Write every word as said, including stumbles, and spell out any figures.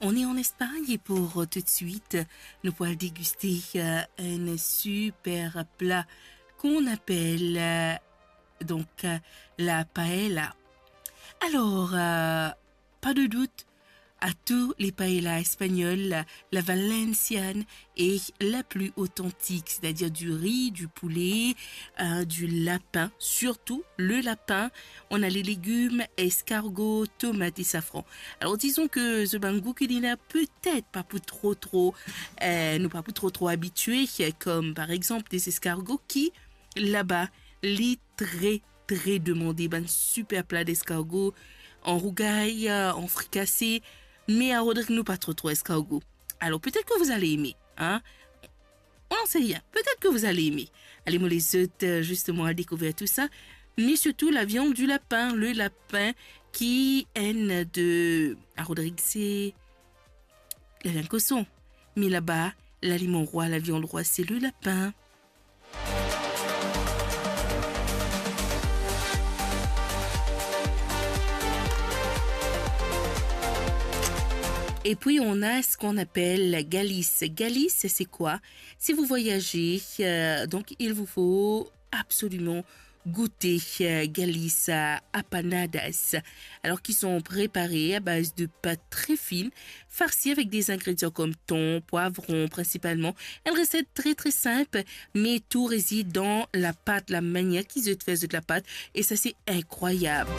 on est en Espagne et pour, euh, tout de suite, nous pourrons déguster, euh, un super plat qu'on appelle, euh, donc, euh, la paella. Alors, euh, pas de doute, à tous les paellas espagnoles, la, la valenciane est la plus authentique, c'est-à-dire du riz, du poulet, euh, du lapin, surtout le lapin. On a les légumes, escargot, tomate et safran. Alors, disons que zot bann gou ki li la, petet pa pou tro tro, euh, nou pa pou tro tro abitie, comme par exemple des escargots qui, laba, li tre tre demande, bann super pla d'escargot, an rougay, euh, an frikase, me a Rodrig nou pa tro tro escargot. Alors, peut-être que vous allez aimer, hein? On n'en sait rien. Peut-être que vous allez aimer. Allez, mo les autres, euh, justement, à découvrir tout ça. Mais surtout, la viande du lapin. Le lapin ki enn de, a Rodrig, se laviann koson. Me laba, laliman rwa, laviann rwa, se le lapin. Et puis, on a ce qu'on appelle la Galice. Galice, c'est quoi? Si vous voyagez, euh, donc il vous faut absolument goûter, euh, Galice, euh, apanadas. Alors, qui sont préparées à base de pâte très fine, farcies avec des ingrédients comme thon, poivron principalement. Une recette très, très simple, mais tout réside dans la pâte, la manière qu'ils ont fait la pâte. Et ça, c'est incroyable.